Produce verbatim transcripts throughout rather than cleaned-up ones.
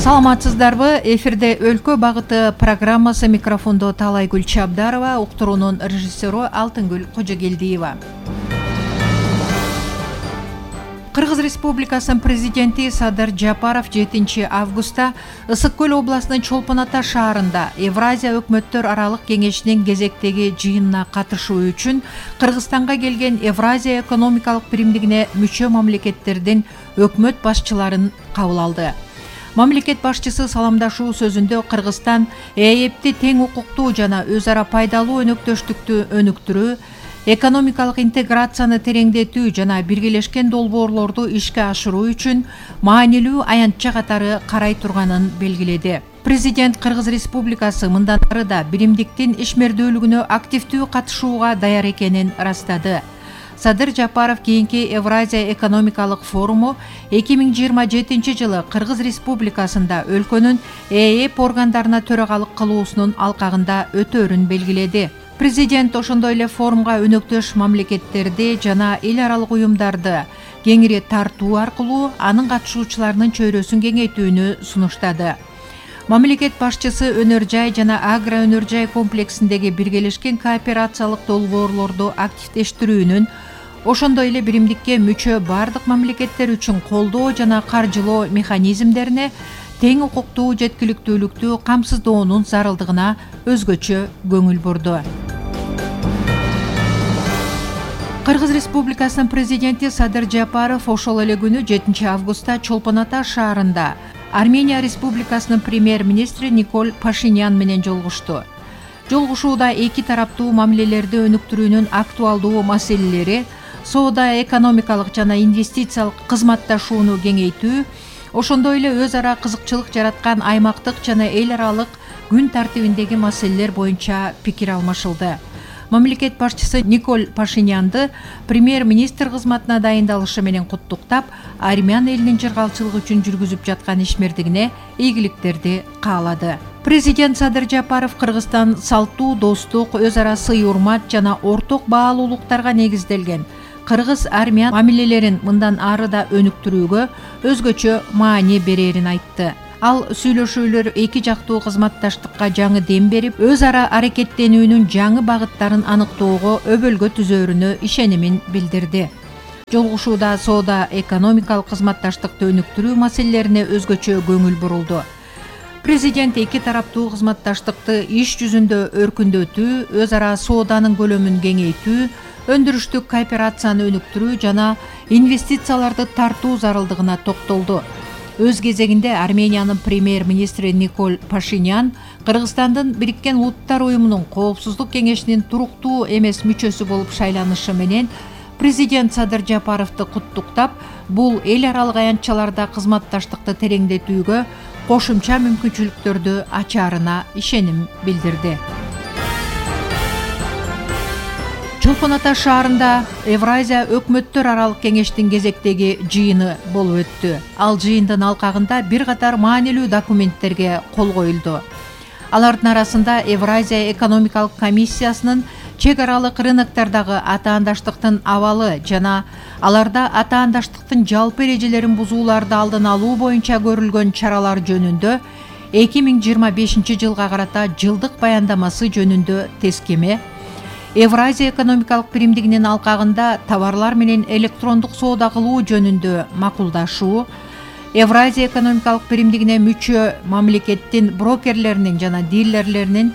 Саламатсыздарбы? Эфирде Өлкө багыты программасы, микрофондо Талайгүл Чабдарова, уктуруунун режиссеру Алтынгүл Кожогелдиева. Кыргыз Республикасынын президенти Садыр Жапаров жетинчи августта Ысык көл областынын Чолпон Ата шаарында Евразия өкмөттөр аралык кеңешинин кезектеги жыйынына катышуу үчүн Кыргызстанга келген Евразия экономикалык биримдигине мүчө мамлекеттердин өкмөт башчыларын кабыл алды. Мамлекет башчысы саламдашуу сөзүндө Кыргызстан ЭЭПти тең укуктуу жана өз ара пайдалуу өнөктөштүктү өнүктүрүү, экономикалык интеграцияны тереңдетүү жана биргелешкен долбоорлорду ишке ашыруу үчүн маанилүү аянтча катары карай турганын белгиледи. Президент Кыргыз Республикасы мындан ары да биримдиктин ишмердүүлүгүнө активдүү катышууга даяр экенин ырастады. Садыр Жапаров кийинки Евразия экономикалык форуму эки миң жыйырма жетинчи жылы Кыргыз Республикасында өлкөнүн ЭЭП органдарына төрагалык кылуусунун алкагында өтөөрүн белгиледи. Президент ошондой эле форумга өнөктөш мамлекеттерди жана эл аралык уюмдарды кеңири тартуу аркылуу анын катышуучуларынын чөйрөсүн кеңейтүүнү сунуштады. Мамлекет башчысы өнөр жай жана агро өнөр жай комплексиндеги биргелешкен кооперациялык долбоорлорду активдештирүүнүн, ошондой эле биримдикке мүчө бардык мамлекеттер үчүн колдоо жана каржылоо механизмдерине тең укуктуу жеткиликтүүлүктү камсыздоонун зарылдыгына өзгөчө көңүл бурду. Кыргыз Республикасынын президенти Садыр Жапаров ошол эле күнү жетинчи августта Чолпон Ата шаарында Армения Республикасынын премьер-министри Николь Пашинян менен жолугушту. Жолугушууда эки тараптуу мамилелерди өнүктүрүүнүн актуалдуу маселелери, соода экономикалык жана инвестициялык кызматташууну кеңейтүү, ошондой эле өз ара кызыкчылык жараткан аймактык жана эл аралык күн тартибиндеги маселелер боюнча пикир алмашылды. Мамлекет башчысы Николь Пашинянды премьер-министр кызматына дайындалышы менен куттуктап, армян элинин жыргалчылыгы үчүн жүргүзүп жаткан ишмердигине ийгиликтерди каалады. Президент Садыр Жапаров Кыргызстан салттуу, достук, өз ара сый-урмат жана орток баалуулуктарга негизделген кыргыз-армян мамилелерин мындан ары да өнүктүрүүгө өзгөчө маани берерин айтты. Ал сүйлөшүүлөр эки жактуу кызматташтыкка жаңы дем берип, өз ара аракеттенүүнүн жаңы багыттарын аныктоого өбөлгө түзөөрүнө ишенимин билдирди. Жолугушууда соода экономикалык кызматташтыкты өнүктүрүү маселелерине өзгөчө көңүл бурулду. Президент эки тараптуу кызматташтыкты иш жүзүндө өркүндөтүү, өз ара сооданын көлөмүн кеңейтүү, өндүрүштүк кооперацияны өнүктүрүү жана инвестицияларды тартуу зарылдыгына токтолду. Өз кезегинде Армениянын премьер-министри Николь Пашинян Кыргызстандын Бириккен Улуттар уюмунун Коопсуздук кеңешинин туруктуу эмес мүчөсү болуп шайланышы менен президент Садыр Жапаровду куттуктап, бул эл аралык аянтчаларда кызматташтыкты тереңдетүүгө кошумча мүмкүнчүлүктөрдү ачаарына ишеним билдирди. Чолпон Ата шаарында Евразия өкмөттөр аралык кеңештин кезектеги жыйыны болуп өттү. Ал жыйындын алкагында бир катар маанилүү документтерге кол коюлду. Алардын арасында Евразия экономикалык комиссиясынын чек аралык рыноктардагы атаандаштыктын абалы жана аларда атаандаштыктын жалпы эрежелерин бузууларды алдын алуу боюнча көрүлгөн чаралар жөнүндө эки миң жыйырма бешинчи жылга карата жылдык баяндамасы жөнүндө тескеме, Евразия экономикалык биримдигинин алкагында товарлар менен электрондук соода кылуу жөнүндө макулдашуу, Евразия экономикалык биримдигине мүчө мамлекеттин брокерлеринин жана дилерлеринин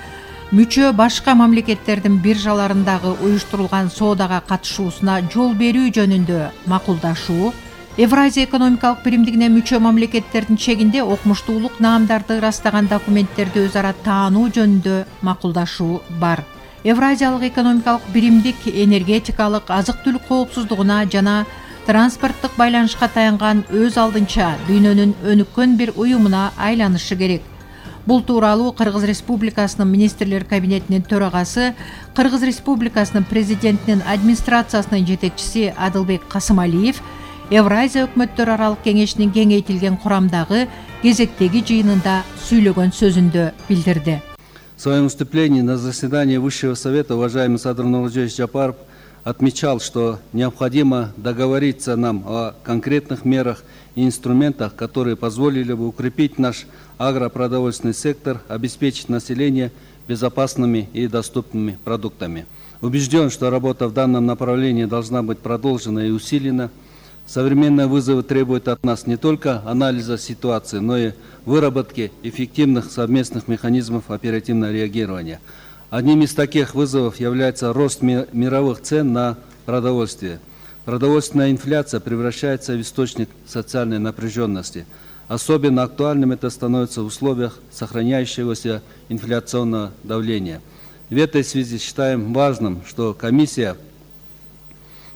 мүчө башка мамлекеттердин биржаларындагы уюштурулган соодага катышуусуна жол берүү жөнүндө макулдашуу, Евразия экономикалык биримдигине мүчө мамлекеттердин чегинде окумуштуулук наамдарды ырастаган документтерди өз ара таануу жөнүндө макулдашуу бар. Евразиялык экономикалык биримдик энергетикалык, азык-түлүк коопсуздугуна жана транспорттук байланышка таянган өз алдынча дүйнөнүн өнүккөн бир уюмуна айланышы керек. Бул тууралуу Кыргыз Республикасынын министрлер кабинетинин төрагасы, Кыргыз Республикасынын президентинин администрациясынын жетекчиси Адылбек Касымалиев Евразия өкмөттөр аралык кеңешинин кеңейтилген курамдагы кезектеги жыйынында сүйлөгөн сөзүндө билдирди. В своем выступлении на заседании Высшего совета уважаемый Садыр Нуралиевич Жапаров отмечал, что необходимо договориться нам о конкретных мерах и инструментах, которые позволили бы укрепить наш агропродовольственный сектор, обеспечить население безопасными и доступными продуктами. Убежден, что работа в данном направлении должна быть продолжена и усилена. Современные вызовы требуют от нас не только анализа ситуации, но и выработки эффективных совместных механизмов оперативного реагирования. Одним из таких вызовов является рост мировых цен на продовольствие. Продовольственная инфляция превращается в источник социальной напряженности. Особенно актуальным это становится в условиях сохраняющегося инфляционного давления. В этой связи считаем важным, что комиссия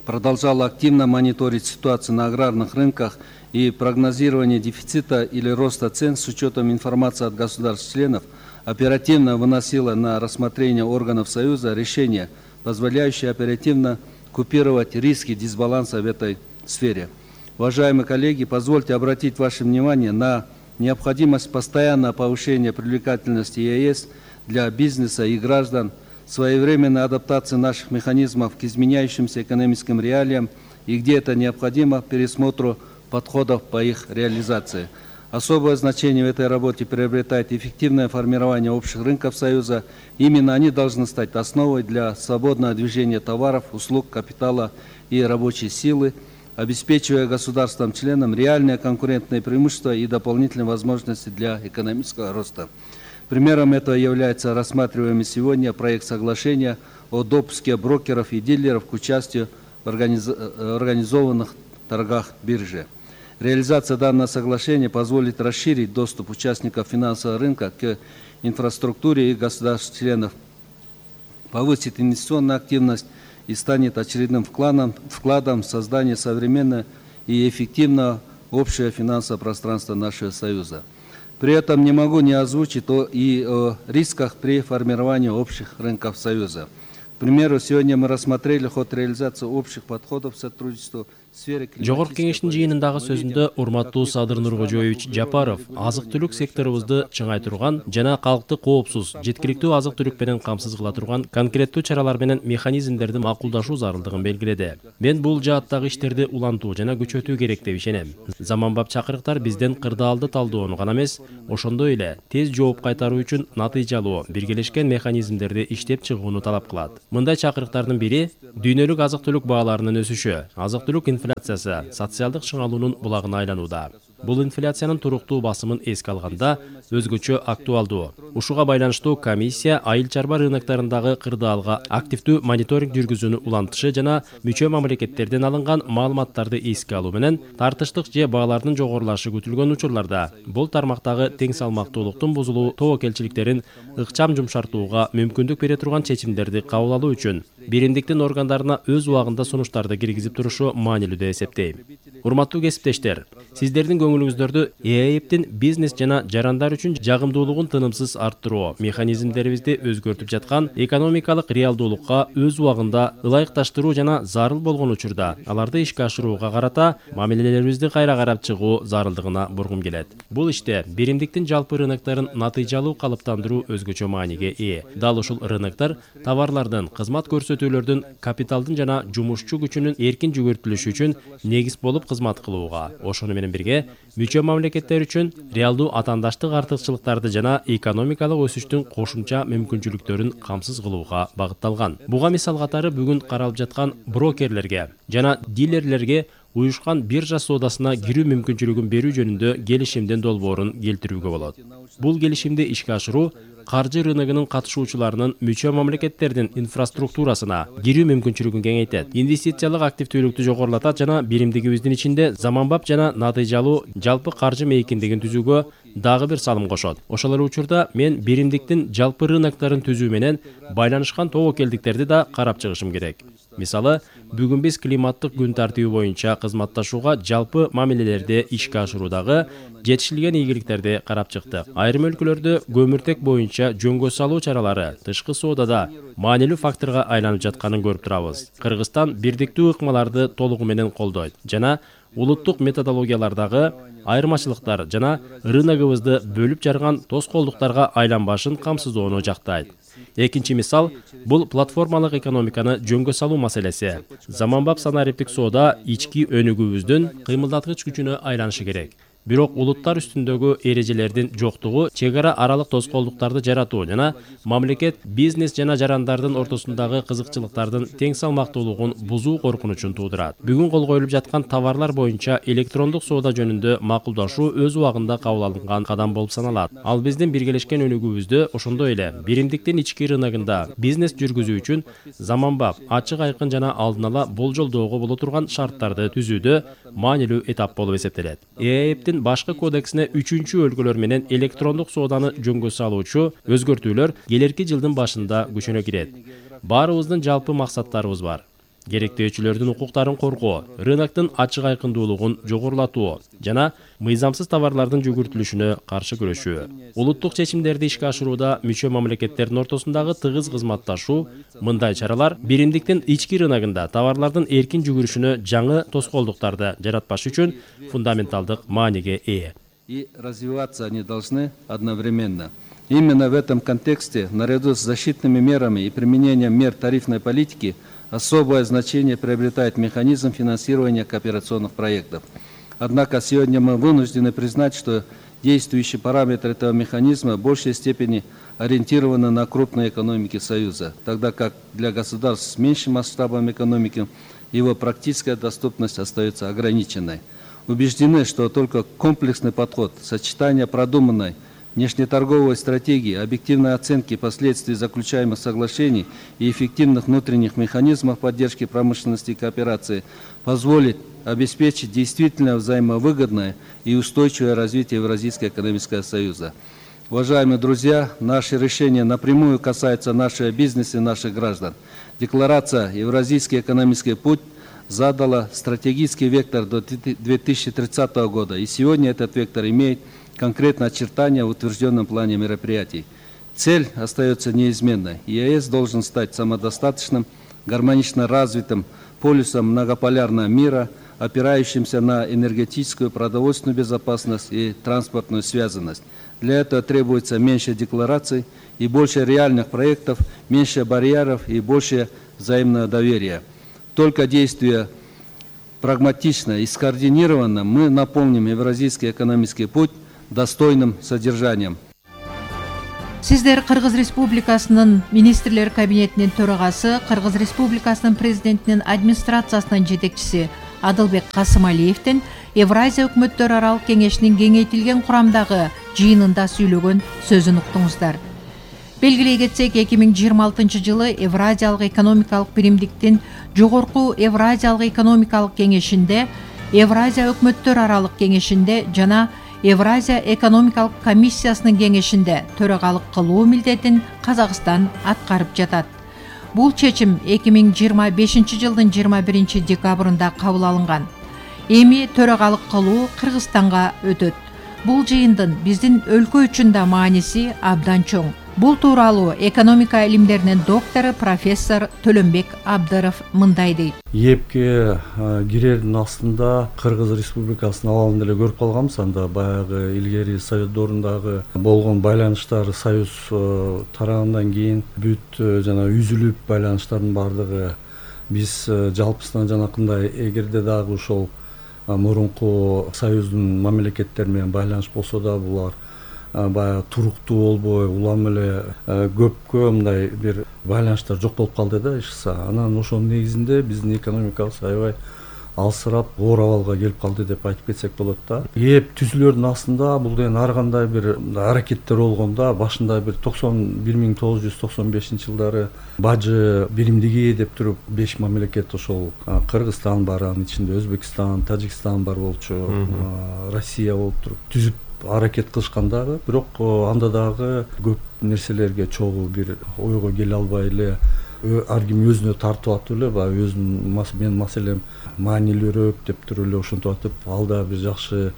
продолжала активно мониторить ситуацию на аграрных рынках и прогнозирование дефицита или роста цен с учетом информации от государств-членов оперативно выносила на рассмотрение органов Союза решения, позволяющие оперативно купировать риски дисбаланса в этой сфере. Уважаемые коллеги, позвольте обратить ваше внимание на необходимость постоянного повышения привлекательности ЕАЭС для бизнеса и граждан, своевременной адаптации наших механизмов к изменяющимся экономическим реалиям и, где это необходимо, пересмотру подходов по их реализации. Особое значение в этой работе приобретает эффективное формирование общих рынков Союза. Именно они должны стать основой для свободного движения товаров, услуг, капитала и рабочей силы, обеспечивая государствам-членам реальные конкурентные преимущества и дополнительные возможности для экономического роста. Примером этого является рассматриваемый сегодня проект соглашения о допуске брокеров и дилеров к участию в организованных торгах биржи. Реализация данного соглашения позволит расширить доступ участников финансового рынка к инфраструктуре и государств-членов, повысит инвестиционную активность и станет очередным вкладом, вкладом в создание современного и эффективного общего финансового пространства нашего Союза. При этом не могу не озвучить о, и о рисках при формировании общих рынков Союза. К примеру, сегодня мы рассмотрели ход реализации общих подходов к сотрудничеству в сфере климатической... Жогорку кеңештин жыйынындагы сөзүндө урматтуу Садыр Нуркожоевич Жапаров азык-түлүк секторубузду чыңайтырган жана калкты коопсуз, жеткиликтүү азык-түлүк менен камсыз кыла турган конкреттүү чаралар менен механизмдерди макулдашуу зарылдыгын белгиледи. Мен бул жааттагы иштерди улантуу жана күчөтүү керек деп ишенем. Заманбап чакырыктар бизден кырдаалды талдоону гана эмес, ошондой эле тез жооп кайтаруу үчүн натыйжалуу, биргелешкен механизмдерди иштеп чыгууну талап кылат. Мындай чакырыктардын бири дүйнөлүк азык-түлүк бааларынын өсүшү, азык-түлүк инфляциясы социалдык чыңалуунун булагына айланууда. Бул инфляциянын туруктуу басымын эске алганда өзгөчө актуалдуу. Ушуга байланыштуу комиссия айыл чарба рыноктарындагы кырдаалга активдүү мониторинг жүргүзүүнү улантышы жана мүчө мамлекеттерден алынган маалыматтарды эске алуу менен тартыштык же баалардын жогорулашы күтүлгөн учурларда бул тармактагы тең салмактуулуктун бузулуу тобокелчиликтерин ыкчам жумшартууга мүмкүндүк бере турган чечимдерди кабыл алуу үчүн биримдиктин органдарына өз убагында сунуштарды киргизип турушу маанилүү деп эсептейм. Урматтуу кесиптештер, сиздердин көңүлүңүздөрдү ЭАЭПтин бизнес жана жарандар үчүн жагымдуулугун тынымсыз арттыруу механизмдерибизди өзгөртүп жаткан экономикалык реалдуулукка өз убагында ылайыкташтыруу жана зарыл болгон учурда аларды ишке ашырууга карата мамилелерибизди кайра карап чыгуу зарылдыгына бургум келет. Бул иште биримдиктин жалпы рыноктарын натыйжалуу калыптандыруу өзгөчө мааниге ээ. Дал ушул рыноктор товарлардын, кызмат көрсөтүүлөрдүн, капиталдын жана жумушчу күчүнүн эркин жүгүртүлүшү үчүн негиз болуп кызмат кылууга, ошону менен бирге мүчө мамлекеттер үчүн реалдуу атаандаштык артыкчылыктарды жана экономикалык өсүштүн кошумча мүмкүнчүлүктөрүн камсыз кылууга багытталган. Буга мисал катары бүгүн каралып жаткан брокерлерге жана дилерлерге уюшкан биржа соодасына кирүү мүмкүнчүлүгүн берүү жөнүндө келишимдин долбоорун келтирүүгө болот. Бул келишимди ишке ашыруу каржы рыногунун катышуучуларынын мүчө мамлекеттердин инфраструктурасына кирүү мүмкүнчүлүгүн кеңейтет, инвестициялык активдүүлүктү жогорулатат жана биримдигибиздин ичинде заманбап жана натыйжалуу жалпы каржы мейкиндигин түзүүгө дагы бир салым кошот. Ошол эле учурда мен биримдиктин жалпы рыноктарын түзүү менен байланышкан тобокелдиктерди да карап чыгышым керек. Мисалы, бүгүн биз климаттык күн тартиби боюнча кызматташууга жалпы мамилелерди ишке ашыруудагы жетишилген ийгиликтерди карап чыктык. Айрым өлкөлөрдө көмүртек боюнча жөнгө салуу чаралары тышкы соодада маанилүү факторго айланып жатканын көрүп турабыз. Кыргызстан бирдиктүү ыкмаларды толугу менен колдойт жана улуттук методологиялардагы айырмачылыктар жана рыногубузду бөлүп жарган тоскоолдуктарга айланбашын камсыздоону жактайт. Экинчи мисал бул платформалык экономиканы жөнгө салуу маселеси. Заманбап санариптик соода ички өнүгүүбүздүн кыймылдаткыч күчүнө айланышы керек. Бирок улуттар үстүндөгү эрежелердин жоктугу чек ара аралык тоскоолдуктарды жаратуу жана мамлекет, бизнес жана жарандардын ортосундагы кызыкчылыктардын тең салмактуулугун бузуу коркунучун туудурат. Бүгүн кол коюлуп жаткан товарлар боюнча электрондук соода жөнүндө макулдашуу өз убагында кабыл алынган кадам болуп саналат. Ал биздин биргелешкен өнүгүүбүздү ошондой эле биримдиктин ички рыногунда бизнес жүргүзүү үчүн заманбап, ачык айкын жана алдын ала болжолдоого боло турган шарттарды түзүүдө маанилүү этап болуп эсептелет. ЭЭПтин башкы кодексине үчүнчү өлкөлөр менен электрондук сооданы жөнгө салуучу өзгөртүүлөр келерки жылдын башында күчүнө кирет. Баарыбыздын жалпы максаттарыбыз бар. Керектөөчүлөрдүн укуктарын коргоо, рыноктун ачык айкындуулугун жогорулатуу жана мыйзамсыз товарлардын жүгүртүлүшүнө каршы күрөшүү. Улуттук чечимдерди ишке ашырууда мүчө мамлекеттердин ортосундагы тыгыз кызматташуу, мындай чаралар биримдиктин ички рыногунда товарлардын эркин жүгүрүшүнө жаңы тоскоолдуктарды жаратпаш үчүн фундаменталдык мааниге ээ. И развиваться они должны одновременно. Именно в этом контексте, наряду с защитными мерами и применением мер тарифной политики, особое значение приобретает механизм финансирования кооперационных проектов. Однако сегодня мы вынуждены признать, что действующие параметры этого механизма в большей степени ориентированы на крупные экономики Союза, тогда как для государств с меньшим масштабом экономики его практическая доступность остается ограниченной. Убеждены, что только комплексный подход, сочетание продуманной внешнеторговой стратегии, объективной оценки последствий заключаемых соглашений и эффективных внутренних механизмов поддержки промышленности и кооперации позволит обеспечить действительно взаимовыгодное и устойчивое развитие Евразийского экономического союза. Уважаемые друзья, наши решения напрямую касаются нашего бизнеса и наших граждан. Декларация «Евразийский экономический путь» задала стратегический вектор до две тысячи тридцатого года, и сегодня этот вектор имеет конкретное очертания в утвержденном плане мероприятий. Цель остается неизменной. ЕАЭС должен стать самодостаточным, гармонично развитым полюсом многополярного мира, опирающимся на энергетическую, продовольственную безопасность и транспортную связанность. Для этого требуется меньше деклараций и больше реальных проектов, меньше барьеров и больше взаимного доверия. Только действуя прагматично и скоординированно, мы наполним Евразийский экономический путь достойным содержанием. Сиздер Кыргыз Республикасынын министрлер кабинетинин төрагасы, Кыргыз Республикасынын президентинин администрациясынын жетекчиси Адылбек Касымалиевдин Евразия өкмөттөр аралык кеңешинин кеңейтилген курамдагы жыйынында сүйлөгөн сөзүн уктуңуздар. Белгилей кетсек, эки миң жыйырма алтынчы жылы Евразиялык экономикалык биримдиктин жогорку Евразиялык экономикалык кеңешинде, Евразия өкмөттөр аралык кеңешинде жана Евразия экономикалык комиссиясынын кеңешинде төрагалык кылуу милдетин Казакстан аткарып жатат. Бул чечим эки миң жыйырма бешинчи жылдын жыйырма биринчи декабрында кабыл алынган. Эми төрагалык кылуу Кыргызстанга өтөт. Бул жыйындын биздин өлкө үчүн да мааниси абдан чоң. Бул тууралуу экономика илимдеринин доктору профессор Төлөнбек Абдыров мындай дейт. ЕЭПке кирердин астында Кыргыз Республикасынын абалын эле көрүп калганбыз. Анда баягы илгери Совет доорундагы болгон байланыштар Союз тарагандан кийин бүт жана үзүлүп байланыштардын баардыгы биз жалпысынан жанакындай эгерде дагы ошол мурунку Союздун мамлекеттери менен байланыш болсо да булар баягы туруктуу болбой улам эле көпкө мындай бир байланыштар жок болуп калды да ишса. Анан ошонун негизинде биздин экономикабыз аябай алсырап оор абалга келип калды деп айтып кетсек болот да. ЕЭП түзүлөрдүн астында бул деген ар кандай бир аракеттер болгондо башында бир токсон бир миң тогуз жүз токсон бешинчи жылдары бажы биримдиги деп туруп беш мамлекет ошол Кыргызстан бар, анын ичинде Өзбекстан, Тажикстан бар болчу, Россия болуп туруп түзүп аракет кылышкан дагы, бирок анда дагы көп нерселерге чогуу бир ойго келе албай эле ар ким өзүнө тартып атып эле баягы өзүнүн менин маселем маанилүүрөөк деп туруп эле ошентип атып ал да бир жакшы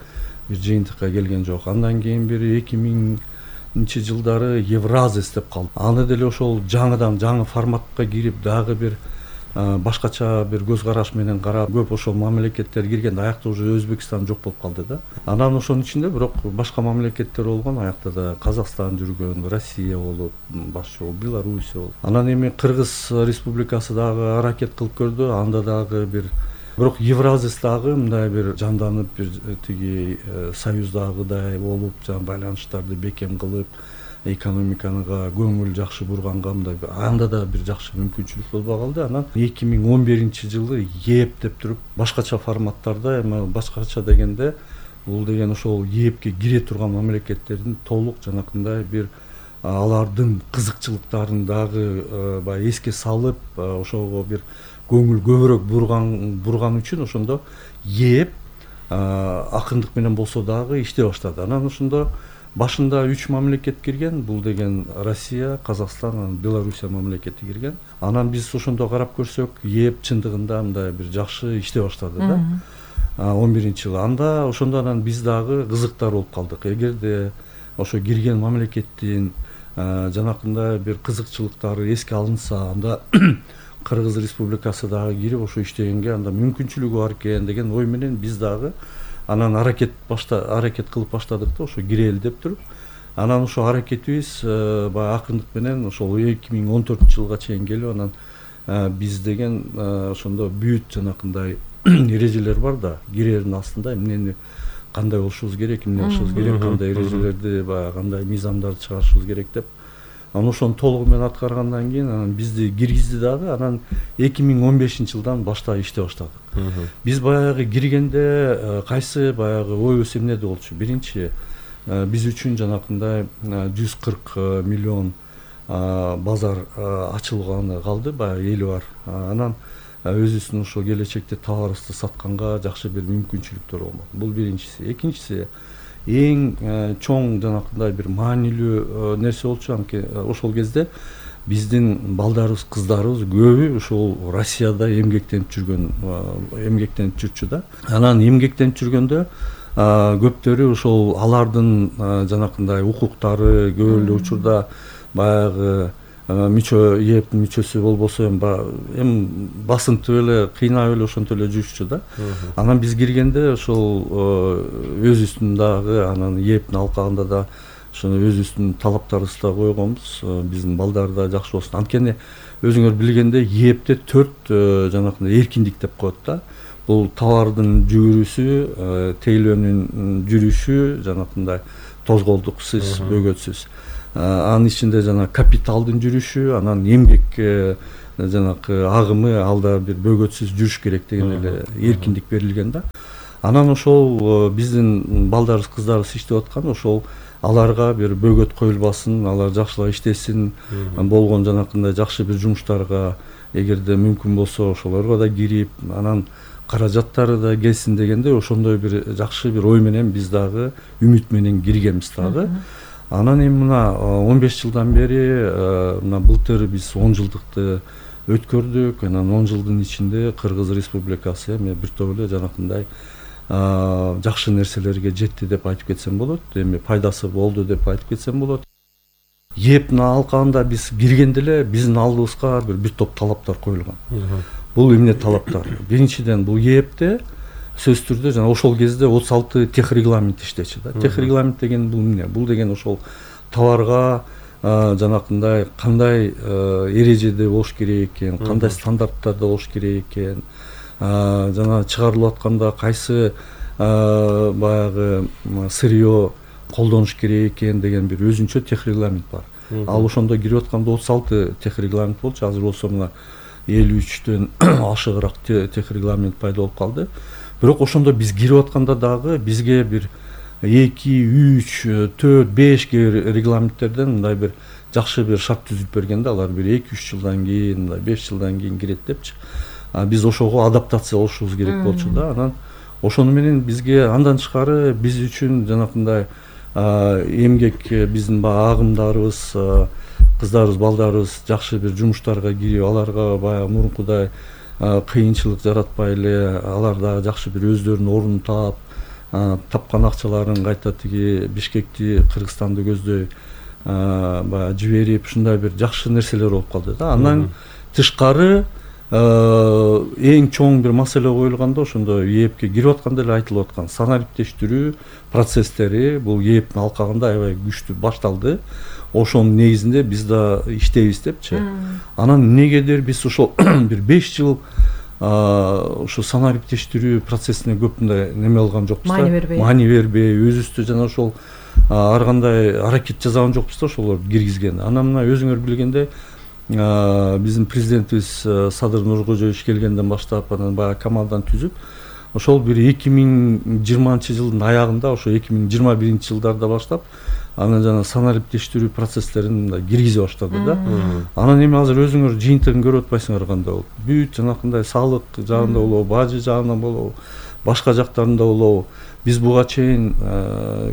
бир жыйынтыкка келген жок. Андан кийин бир эки миңинчи жылдары Евразис деп калды. Аны деле ошол жаңыдан жаңы форматка кирип дагы бир башкача бир көз караш менен карап, көп ошол мамлекеттер киргенде аякта уже Өзбекстан жок болуп калды да. Анан ошонун ичинде бирок башка мамлекеттер болгон, аякта да Казакстан жүргөн, Россия болуп, башчы болуп, Белоруссия болуп. Анан эми Кыргыз Республикасы дагы аракет кылып көрдү, анда дагы бир бирок Евразис дагы мындай бир жанданып, бир тиги союздагыдай болуп, жана байланыштарды бекем кылып, экономикага көңүл жакшы бурганга мындай анда да бир жакшы мүмкүнчүлүк болбой калды. Анан эки миң он биринчи жылы ЕЭП деп туруп башкача форматтарда, эми башкача дегенде бул деген ошол ЕЭПке кире турган мамлекеттердин толук жанакындай бир алардын кызыкчылыктарын дагы баягы эске салып, ошого бир көңүл көбүрөөк бурган бурган үчүн ошондо ЕЭП акындык менен болсо дагы иштей баштады. Анан ошондо башында үч мамлекет кирген, бул деген Россия, Казакстан, Белоруссия мамлекети кирген. Анан биз ошондо карап көрсөк, ЕЭП чындыгында мындай бир жакшы иштей баштады да. он биринчи жылы анда ошондо анан биз дагы кызыктар болуп калдык. Эгерде ошо кирген мамлекеттин жанакындай бир кызыкчылыктары эске алынса, анда Кыргыз Республикасы дагы кирип ошо иштегенге анда мүмкүнчүлүгү бар экен деген ой менен биз дагы анан аракет башта аракет кылып баштадык да, ошо кирели деп туруп. Анан ошо аракетибиз баягы акындык менен ошол эки миң он төртүнчү жылга чейин келип, анан биз деген ошондо бүт жанакындай эрежелер бар да, кирердин астында эмнени кандай болушубуз керек, эмне кылышыбыз керек, кандай эрежелерди, баягы кандай мыйзамдарды чыгарышыбыз керек деп. Анан ошону толугу менен аткаргандан кийин анан бизди киргизди дагы. Анан эки миң он бешинчи жылдан баштап иштей баштадык. Биз баягы киргенде кайсы баягы ойбуз эмнеде болчу? Биринчи, биз үчүн жанакындай жүз кырк миллион базар ачылганы калды, баягы эли бар. Анан өзүбүздүн ошо келечекте товарыбызды сатканга жакшы бир мүмкүнчүлүктөр болмок. Бул биринчиси. Экинчиси, эң чоң жанакындай бир маанилүү нерсе болчу, анткени ошол кезде биздин балдарыбыз, кыздарыбыз көбү ошол Россияда эмгектенип жүргөн, эмгектенип жүрчү да. Анан эмгектенип жүргөндө көптөрү ошол алардын жанакындай укуктары көп эле учурда баягы мүчө ЕЭПтин мүчөсү болбосо эми эми басынтып эле, кыйнап эле ошентип эле жүрүшчү да. Анан биз киргенде ошол өзүбүздүн дагы анан ЕЭПтин алкагында да ошону өзүбүздүн талаптарыбызды да койгонбуз, биздин балдар да жакшы болсун. Анткени өзүңөр билгендей ЕЭПте төрт жанакындай эркиндик деп коет да. Бул товардын жүгүрүшү, тейлөөнүн жүрүшү, жанакындай тозголдуксуз, бөгөтсүз. Анын ичинде жана капиталдын жүрүшү, анан эмгек жанакы агымы, алда бир бөгөтсүз жүрүш керек деген эле эркиндик берилген да. Анан ошол биздин балдарыбыз, кыздарыбыз иштеп аткан, ошол аларга бир бөгөт коюлбасын, алар жакшылап иштесин, болгон жанакындай жакшы бир жумуштарга эгерде мүмкүн болсо ошолорго да кирип, анан каражаттары да келсин дегенде ошондой бир жакшы бир ой менен биз дагы үмүт менен киргенбиз дагы. Анан эми мына он беш жылдан бери мына былтыр биз он жылдыкты өткөрдүк. Анан он жылдын ичинде Кыргыз Республикасы эми бир топ эле жанакындай жакшы нерселерге жетти деп айтып кетсем болот. Эми пайдасы болду деп айтып кетсем болот. ЕЭПтин алкагында биз киргенде эле биздин алдыбызга бир бир топ талаптар коюлган. Бул эмне талаптар? Биринчиден, бул ЕЭПте сөзсүз түрдө жана ошол кезде отуз алты техрегламент иштечү да. Техрегламент деген бул эмне? Бул деген ошол товарга жанакындай кандай эрежеде болуш керек экен, кандай стандарттарда болуш керек экен, жана чыгарылып атканда кайсы баягы сырье колдонуш керек экен деген бир өзүнчө техрегламент бар. Ал ошондо кирип атканда отуз алты техрегламент болчу. Азыр болсо мына элүү үчтөн ашыгыраак техрегламент пайда болуп калды. Бирок ошондо биз кирип атканда дагы бизге бир эки, үч, төрт, беш регламенттерден мындай бир жакшы бир шарт түзүп берген да. Алар бир эки үч жылдан кийин, мындай беш жылдан кийин кирет депчи. Биз ошого адаптация болушубуз керек болчу да. Анан ошону менен бизге андан тышкары биз үчүн жанакындай эмгек биздин баягы агымдарыбыз, кыздарыбыз, балдарыбыз жакшы бир жумуштарга кирип, аларга баягы мурункудай кыйынчылык жаратпай эле, алар дагы жакшы бир өздөрүнүн ордун таап, тапкан акчаларын кайта тиги Бишкекти, Кыргызстанды көздөй баягы жиберип, ушундай бир жакшы нерселер болуп калды да. Андан тышкары эң чоң бир маселе коюлганда ошондо ээпке кирип атканда эле айтылып аткан санариптештирүү процесстери бул ээптин алкагында аябай күчтүү башталды. Ошонун негизинде биз да иштейбиз депчи. Анан эмнегедир биз ошол бир беш жыл ошо санариптештирүү процессине көп мындай неме алган жокпуз да. Маани бербей. Маани бербей, өзүбүздө жана ошол ар кандай аракет жасаган жокпуз да ошолорду киргизген. Анан мына өзүңөр билгендей биздин президентибиз Садыр Нуркожоевич келгенден баштап анан баягы команданы түзүп, ошол бир эки миң жыйырманчы жылдын аягында, ошо эки миң жыйырма биринчи жылдарда баштап, анан жана санариптештирүү процесстерин мындай киргизе баштады да. Анан эми азыр өзүңөр жыйынтыгын көрүп атпайсыңар кандай болуп. Бүт жанакындай салык жагында болобу, бажы жагында болобу, башка жактарында болобу. Биз буга чейин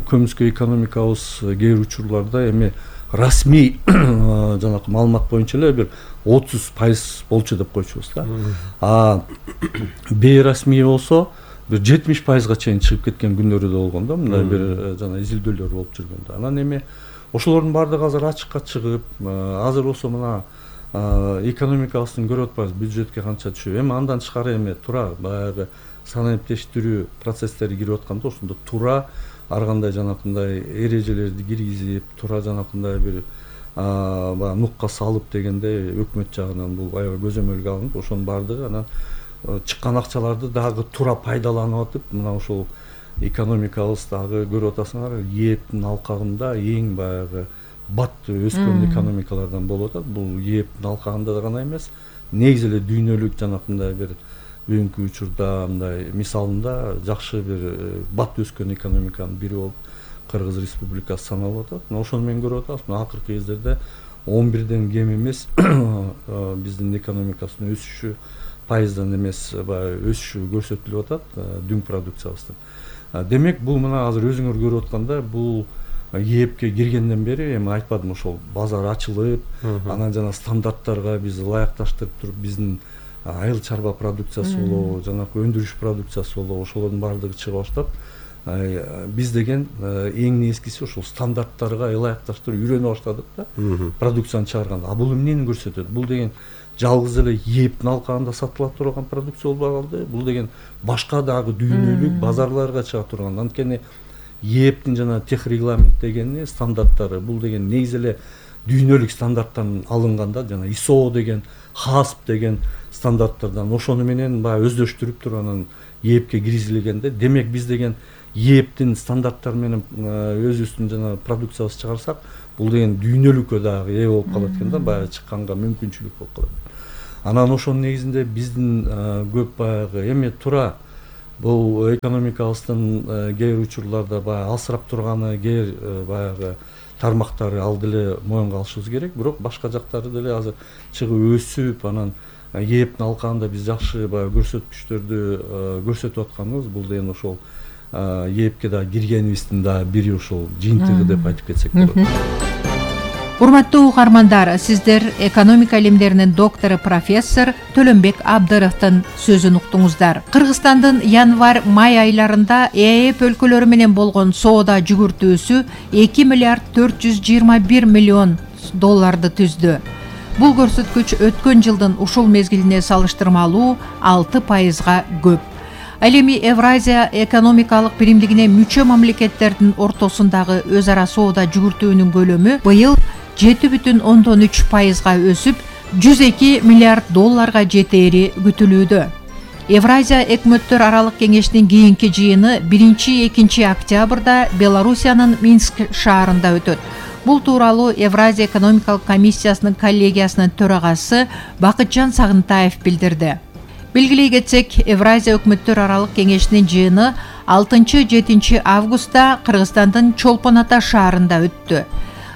көмүскө экономикабыз кээ бир учурларда эми расмий жанакы маалымат боюнча эле бир отуз пайыз болчу деп койчубуз да. А бейрасмий болсо бир жетимиш пайызга чейин чыгып кеткен күндөрү да болгон да, мындай бир жана изилдөөлөр болуп жүргөн да. Анан эми ошолордун баардыгы азыр ачыкка чыгып, азыр болсо мына экономикабыздын көрүп атпайбыз, бюджетке канча түшүп. Эми андан тышкары эми туура баягы санариптештирүү процесстери кирип атканда ошондо туура ар кандай жанакындай эрежелерди киргизип, туура жанакындай бир баягы нукка салып дегенде өкмөт жагынан бул аябай көзөмөлгө алынып, ошонун баардыгы анан чыккан акчаларды дагы туура пайдаланып атып, мына ошол экономикабыз дагы көрүп атасыңар, ээптин алкагында эң баягы бат өскөн экономикалардан болуп атат. Бул ээптин алкагында да гана эмес, негизи эле дүйнөлүк жанакындай бир бүгүнкү учурда мындай мисалында жакшы бир бат өскөн экономиканын бири болуп Кыргыз Республикасы саналып атат. Ошону менен көрүп атабыз. Мына акыркы кездерде он бирден кем эмес биздин экономикасынын өсүшү пайыздан эмес баягы өсүшү көрсөтүлүп атат дүң продукциябыздын. Демек бул мына азыр өзүңөр көрүп атканда бул ээпке киргенден бери эми айтпадым, ошол базар ачылып, анан жана стандарттарга биз ылайыкташтырып туруп биздин айыл чарба продукциясы болобу, жанакы өндүрүш продукциясы болобу, ошолордун баардыгы чыга баштап, биз деген эң негизгиси ошол стандарттарга ылайыкташтырып үйрөнө баштадык да, продукцияны чыгарганда. А бул эмнени көрсөтөт? Бул деген жалгыз эле ээптин алкагында сатыла турган продукция болбой калды. Бул деген башка дагы дүйнөлүк базарларга чыга турган. Анткени ээптин жана тех регламент дегени стандарттары бул деген негизи эле дүйнөлүк стандарттан алынганда, жана ай эс о деген, хасп деген стандарттардан ошону менен баягы өздөштүрүп туруп анан ээпке киргизилгенде, демек биз деген ээптин стандарттары менен өзүбүздүн жана продукциябызды чыгарсак, бул деген дүйнөлүккө дагы ээ болуп калат экен да, баягы чыкканга мүмкүнчүлүк болуп калат. Анан ошонун негизинде биздин көп баягы эми туура бул экономикабыздын кээ бир учурларда баягы алсырап турганы, кээ бир баягы тармактары ал деле моюнга алышыбыз керек. Бирок башка жактары деле азыр чыгып өсүп, анан ээптин алкагында биз жакшы баягы көрсөткүчтөрдү көрсөтүп атканыбыз бул деген ошол ээпке да киргенибиздин да бири ошол жыйынтыгы деп айтып кетсек болот. Урматтуу угармандар, сиздер экономика илимдеринин доктору профессор Төлөнбек Абдыровдун сөзүн уктуңуздар. Кыргызстандын январь-май айларында ээп өлкөлөрү менен болгон соода жүгүртүүсү эки миллиард төрт жүз жыйырма бир миллион долларды түздү. Бул көрсөткүч өткөн жылдын ушул мезгилине салыштырмалуу алты пайызга көп. Ал эми Евразия экономикалык биримдигине мүчө мамлекеттердин ортосундагы өз ара соода жүгүртүүнүн көлөмү быйыл жети бүтүн ондон үч пайызга өсүп, жүз эки миллиард долларга жетери күтүлүүдө. Евразия өкмөттөр аралык кеңешинин кийинки жыйыны биринчи-экинчи октябрда Белоруссиянын Минск шаарында өтөт. Бул тууралуу Евразия экономикалык комиссиясынын коллегиясынын төрагасы Бакытжан Сагынтаев билдирди. Белгилей кетсек, Евразия өкмөттөр аралык кеңешинин жыйыны алтынчы-жетинчи августта Кыргызстандын Чолпон Ата шаарында өттү.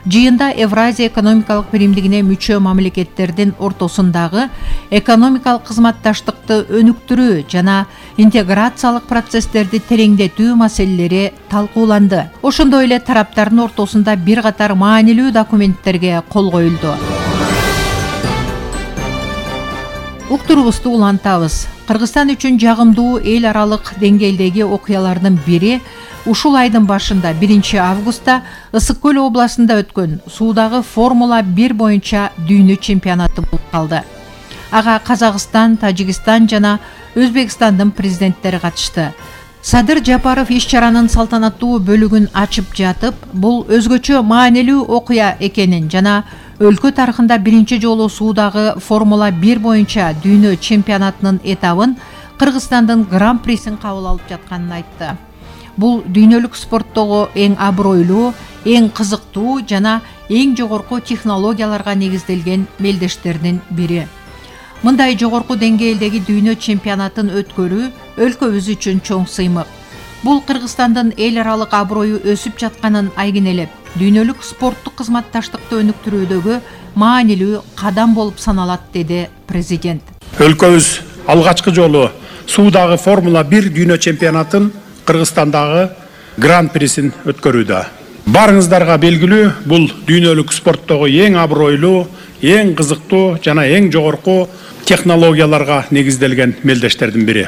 Жыйында Евразия экономикалык биримдигине мүчө мамлекеттердин ортосундагы экономикалык кызматташтыкты өнүктүрүү жана интеграциялык процесстерди тереңдетүү маселелери талкууланды. Ошондой эле тараптардын ортосунда бир катар маанилүү документтерге кол коюлду. Уктурубузду улантабыз. Кыргызстан үчүн жагымдуу эл аралык деңгээлдеги окуялардын бири ушул айдын башында биринчи августта Ысык көл областында өткөн суудагы Формула бир боюнча дүйнө чемпионаты болуп калды. Ага Казакстан, Тажикстан жана Өзбекстандын президенттери катышты. Садыр Жапаров иш-чаранын салтанаттуу бөлүгүн ачып жатып, бул өзгөчө маанилүү окуя экенин жана өлкө тарыхында биринчи жолу суудагы Формула бир боюнча дүйнө чемпионатынын этабын Кыргызстандын гран-присин кабыл алып жатканын айтты. Бул дүйнөлүк спорттогу эң абройлуу, эң кызыктуу жана эң жогорку технологияларга негизделген мелдештердин бири. Мындай жогорку деңгээлдеги дүйнө чемпионатын өткөрүү өлкөбүз үчүн чоң сыймык. Бул Кыргызстандын эл аралык аброю өсүп жатканын айгинелеп, дүйнөлүк спорттук кызматташтыкты өнүктүрүүдөгү маанилүү кадам болуп саналат, деди президент. Өлкөбүз алгачкы жолу суудагы Формула бир дүйнө чемпионатын Кыргызстандагы гран-присин өткөрүүдө. Барыңыздарга белгилүү, бул дүйнөлүк спорттогу эң абройлуу, эң кызыктуу жана эң жогорку технологияларга негизделген мелдештердин бири.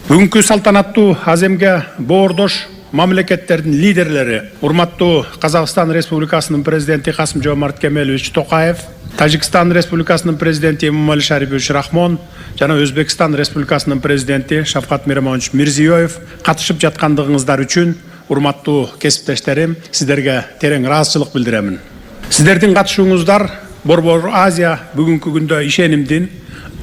Бүгүнкү салтанаттуу аземге боордош мамлекеттердин лидерлери, урматтуу Казакстан Республикасынын президенти Касым-Жомарт Кемелович Токаев, Тажикстан Республикасынын президенти Эмомали Шарипович Рахмон жана Өзбекстан Республикасынын президенти Шавкат Миромонович Мирзиёев катышып жаткандыгыңыздар үчүн, урматтуу кесиптештерим, сиздерге терең ыраазычылык билдиремин. Сиздердин катышууңуздар Борбор Азия бүгүнкү күндө ишенимдин,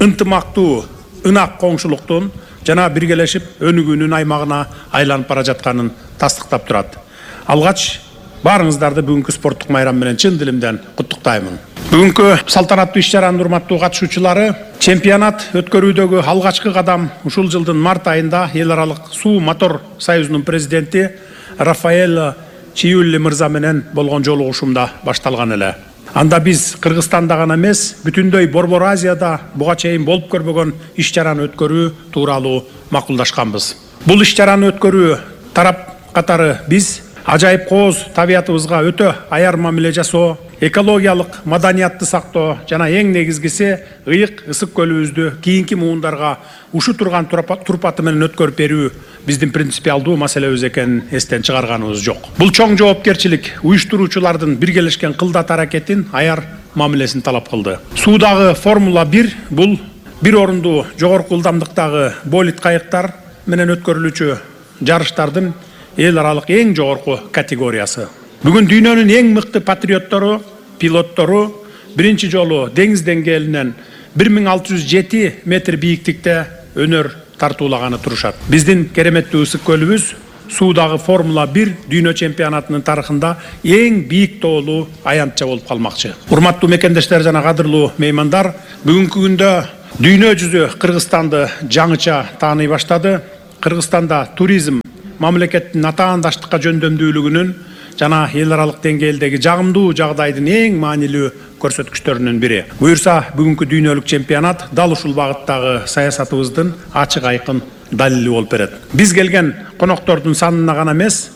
ынтымактуу, ынак коңшулуктун жана биргелешип өнүгүүнүн аймагына айланып бара жатканын тастыктап турат. Алгач баарыңыздарды бүгүнкү спорттук майрам менен чын дилимден куттуктаймын. Бүгүнкү салтанаттуу иш-чаранын урматтуу катышуучулары, чемпионат өткөрүүдөгү алгачкы кадам ушул жылдын март айында эл аралык суу мотор союзунун президенти Рафаэль Чиюлли мырза менен болгон жолугушуумда башталган эле. Анда биз Кыргызстанда гана эмес, бүтүндөй Борбор Азияда буга чейин болуп көрбөгөн иш-чараны өткөрүү тууралуу макулдашканбыз. Бул иш-чараны өткөрүү тарап катары биз ажайып кооз табиятыбызга өтө аяр мамиле жасоо, экологиялык маданиятты сактоо жана эң негизгиси ыйык ысык көлүбүздү кийинки муундарга ушу турган турпаты менен өткөрүп берүү биздин принципиалдуу маселебиз экенин эстен чыгарганыбыз жок. Бул чоң жоопкерчилик уюштуруучулардын биргелешкен кылдат аракетин, аяр мамилесин талап кылды. Суудагы Формула бир бул бир орундуу жогорку ылдамдыктагы болид кайыктар менен өткөрүлүүчү жарыштардын эл аралык эң жогорку категориясы. Бүгүн дүйнөнүн эң мыкты патриоттору, пилоттору биринчи жолу деңиз деңгээлинен бир миң алты жүз жети метр бийиктикте өнөр тартуулаганы турушат. Биздин кереметтүү ысык көлүбүз суудагы Формула бир дүйнө чемпионатынын тарыхында эң бийик тоолуу аянтча болуп калмакчы. Урматтуу мекендештер жана кадырлуу меймандар, бүгүнкү күндө дүйнө жүзү Кыргызстанды жаңыча тааный баштады. Кыргызстанда туризм мамлекеттин атаандаштыкка жөндөмдүүлүгүнүн жана эл аралык деңгээлдеги жагымдуу жагдайдын эң маанилүү көрсөткүчтөрүнүн бири. Буюрса, бүгүнкү дүйнөлүк чемпионат дал ушул багыттагы саясатыбыздын ачык айкын далили болуп берет. Биз келген коноктордун санына гана эмес,